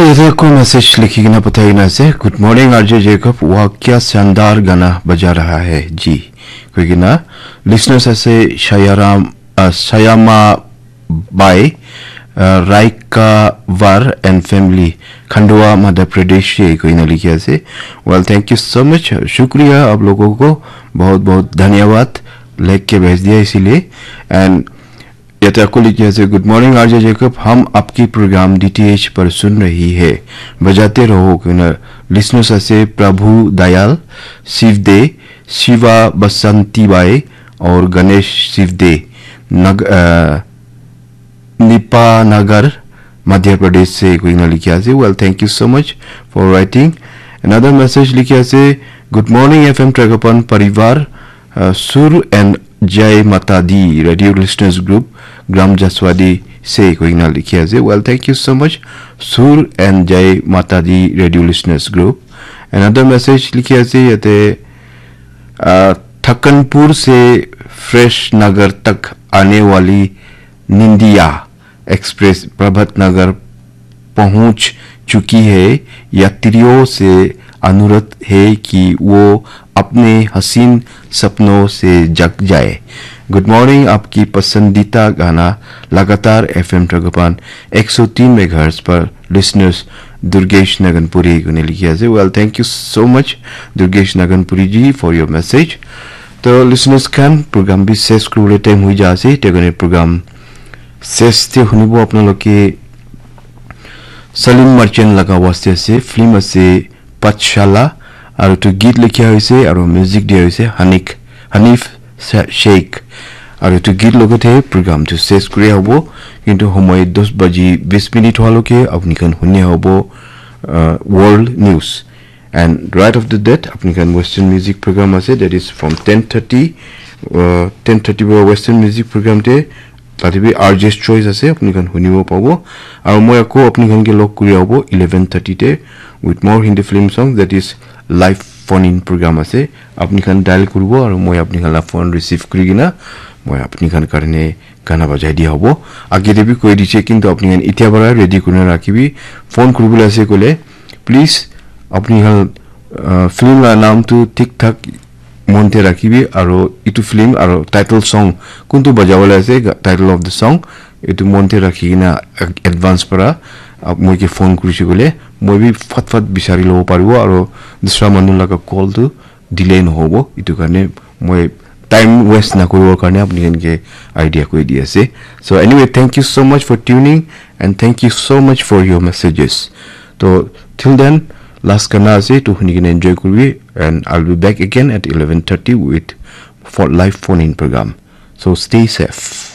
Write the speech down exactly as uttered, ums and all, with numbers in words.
Ete koi message likhi kena pathai kena ase, "Good morning, R J Jacob, wah kya shandar gana baja raha hai ji," koi kena. Listeners ase Shayaram, uh, Shayama Bai, uh, Raikavar and family, Khandwa, Madhya Pradesh se koi kena likhi ase. Well, thank you so much. Shukriya aap logon ko, bahut bahut dhanyawad, likh ke bhej diya isiliye. And Yate ako likhi ase, "Good morning, R J Jacob. हम आपकी प्रोग्राम D T H पर सुन रही है। बजाते रहो।" Koi kena listeners ase Prabhu Dayal, Sivde, Shiva Basanti Bai, और गणेश सिवदे, नग-, अ, निपानगर, मध्य प्रदेश से koi kena likhi ase. Well, thank you so much for writing. Another message likhi ase, "Good morning, F M Tragapan Parivar, uh, Sur and Jai Mata Di, Radio Listeners Group, Gram Jaswadi se," koi kena likhi ase. Well, thank you so much, Sur and Jai Mata Di, Radio Listeners Group. Another message likhi ase yate, uh, "Thakanpur se Fresh Nagar tak aane wali Nindiya Express Prabhat Nagar पहुंच चुकी है। यात्रियों से अनुरोध है कि वो अपने हसीन सपनों से जग जाए।" Good morning, आपकी पसंदीदा गाना लगातार F M Tragapan एक सौ तीन megahertz पर listeners Durgesh Naganpuri koi kena likhi ase. Well, thank you so much, Durgesh Naganpuri ji, for your message. To listeners khan, program bi ses kuribole time hoi ja ase. Te koi kena program ses te hunibo apnaloke Salim Merchant laga waste ase, film ase Pathshala, aru etu git likha hoise aru music dia hoise Hanik, Hanif Sa-, Sheikh. Aru etu git logote program tu ses kuri hobo, kintu homoi dos baji bis minute hoa loke apni khan huni hobo, uh, world news. And right after that, apni khan Western music program ase, that is from ten thirty, uh, ten thirty para Western music program te, tate bi R J's choice ase, apni khan hunibo pabo. Aru moi ako apni khan ke log kuri abo eleven thirty te with more Hindi film songs, that is live phone in program ase. Apni khan dial kuribo aru moi apni khan la phone receive kuri kena moi apni khan karne gana bajai dia hobo. Age te bi koi dise, kintu apni khan itia para ready kurina rakhibi. Phone kuribole ase koile, please, apni khan, uh, film la naam tu thik thak mon te rakhibi, aru itu film aru title song kuntu bajabole ase, ga-, title of the song, itu mon te rakhi kena ad-, advance para, uh, moi ke phone kurise koile, moi bi fat fat bisari lobo paribo, aru dusra manu laga call tu delay nohobo. Itu karne moi time waste nakuribo karne apni khan ke idea koi di ase. So anyway, thank you so much for tuning and thank you so much for your messages. To till then, last gana ase, to huni kena enjoy kuribi, and I'll be back again at eleven thirty with for live phone in program. So stay safe.